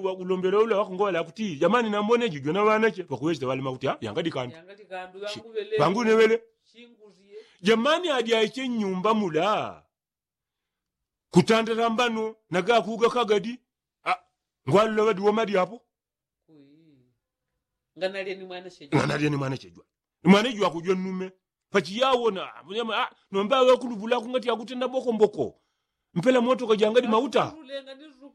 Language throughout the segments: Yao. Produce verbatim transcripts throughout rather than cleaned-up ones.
Ulombela ula wakungola kuti jamani nambone jujwe na ŵanache pakuŵecheta ŵalima kuti yangadi kandu. Pangu newele. Jamani adya iche nyumba mula kutandala mbano nagakuga kagadi. Ngwalula ŵadi womadi apo. Nganalye ni mwana chejwa ni mwana ijwa kujwa nnume. Pachiyawo na nomba aŵe kuluvula kungati akutenda mboko mboko. Mpela moto kajangadi mauta.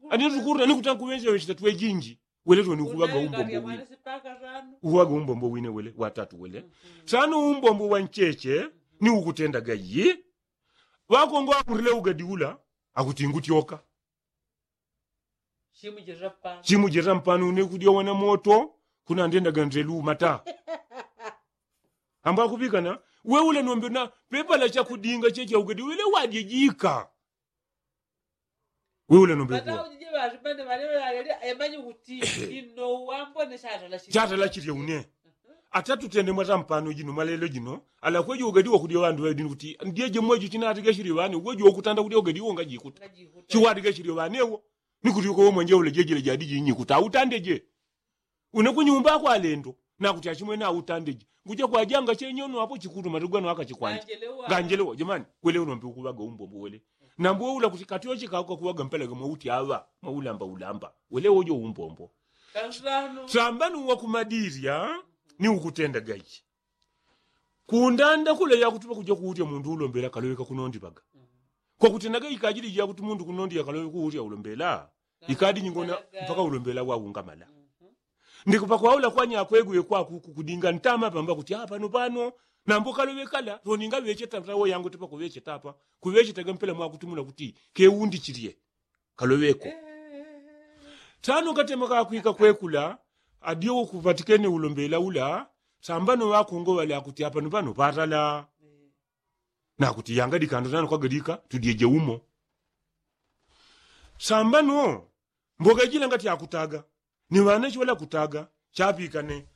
Ani nzukuru na nikuta nkuŵenje ŵechita twejinji. Wele toni ukuŵaga umbombo wine. Ukuŵaga umbombo wine wele watatu wele. Sano umbombo wa ncheche ni ukutendaga yi. Ŵakongo akurile ugadi ula akuti ngutyoka. Chimujirira mpano une kudya wana moto. Kunandendaga ndeluma ta. Ambwa kupikana. Weule nombe na pepala chakudinga checha ugadi wele wadye jika. Weule nombe kuwa chatala chirya une. Ata tutende mwata mpano jino mwalelo jino alakwejo ugadi wakudya ŵandu ŵaidini kuti ndyeje mwejo chinatiga shiri ŵane uwejo wakutanda kudya ugadi uwo ngajikuta. Chiwatiga shiri ŵanewo. Ni kuti uko womwenje ule jejele jadi jinyi kuti autandeje. Une kunyumba kwa lendo na kuti achimwene autandeje. Nguja kwajanga chenyono apo chikutuma tigwano akachikwanja. Nganjelewa jamani. Wele unombe ukuŵaga umbombo wele. Nambo weula kuti kati ochikauka kuŵaga mpelaga mwauti aŵa mwaulamba ulamba wele wojo umbombo. Sambani uwakumadirya ni ukutendaga ichi. Kundanda kula yakuti pakuja kuutya mundu ulombela kaloweka kunondiŵaga. Kwakutendaga ikajili jakuti mundu kunondi yakalowe kuutya ulombela. Ikadi nyingona mpaka ulombela waungamala. Ndikupakwaula kwanya akwegwe kwakuku kudinga ntama pamba kuti apano pano. Nambo kalowe kala roninga ŵecheta tawo yangu tipa kuŵecheta apa. Kuŵechetaga mpela mwakutumula kuti keundi chilye. Kaloweko. Tano katema kakwika kwekula adyo kupatikene ulombela ula. Sambano ŵakongo ŵale akuti apano pano patala. Nakuti yanga dikando nano kwagadika tudyeje umo. Sambano mboga jila ngati akutaga ni ŵanache ŵala kutaga. Chapikane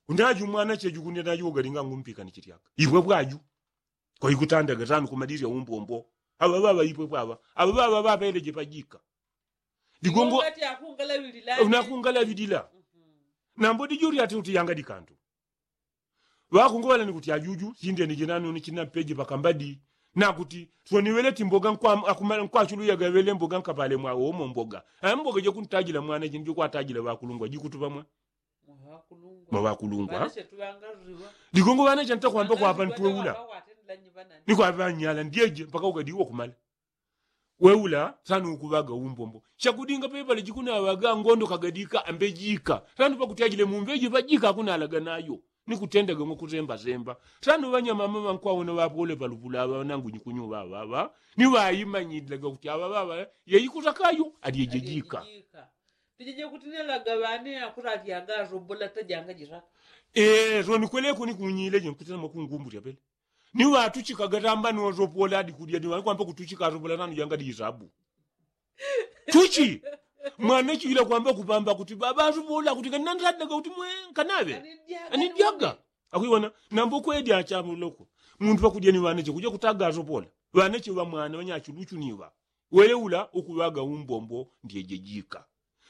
undaji umwanache jukundi ndaji ugalinga ngumpikane chityaka ipwe pwaju. Kwaikutandaga tano kumadirya umbombo. Aŵa ŵaŵa ipwe pwaŵa aŵa ŵaŵa ŵapeleje pajika. Digongo unakungalaŵilila. Nambo dijuri ati uti yanga dikando. Ŵakungoŵala ni kuti ajuju sindenije nani une chinampeje pakambadi. Nakuti swoniwele ti mboga nkwachuluyaga wele mboga nkapale mwawomo mboga. Mboga jekuntajila mwana jini jikwatajila ŵakulungwa jikutuŵa mwa mwa ŵakulungwa. Digongo ŵanache ntakwamba kwapa ntweula. Ni kwaŵanyala ndyeje mpaka ugadiwo kumala. Weula sano ukuŵaga umbombo. Chakudinga pepale jikunaŵaga ngondo kagadika ambejika sano pakutyajile mumbeji pajika akunalaga nayo. Ni kutendaga ngo kuzembazemba sano ŵanyamama ŵankwawona ŵapole palupula aŵa nangu nyikunyuŵa aŵaŵa. Ni ŵaimanyilaga kuti aŵaŵaŵa yeikuta kayo alyejejika. Tijije kuti nelaga ŵane akutalyaga asobola tajanga jiraka. Ee sonikweleko ni kunyileje nkutena mwakungumbulya pele. Ni ŵatuchikaga tamba ni wasopola adi kudya ni ŵali kwamba kutuchika asopola nanu janga disabu. Tuchi mwana chila kwamba kupamba kuti baba asopola kuti kanandadaga kuti mwe nkanaŵe anidyaga. Akuiwona nambo kwedya achamuloko. Muntu pakudya ni ŵanache kuja kutaga asopola. Ŵanache ŵa mwana ŵanyachuluchu ni ŵa wele ula ukuŵaga umbombo ndyejejika.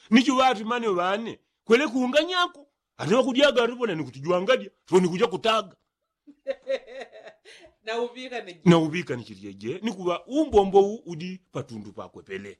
Ni chuŵati mane ŵane kwele kuunganyako. Ane ŵakudyaga asopola ni kuti jwangadya soni kuja kutaga. Na uŵika ni chilyeje ni kuŵa umbombo u udi patundu pakwe pele.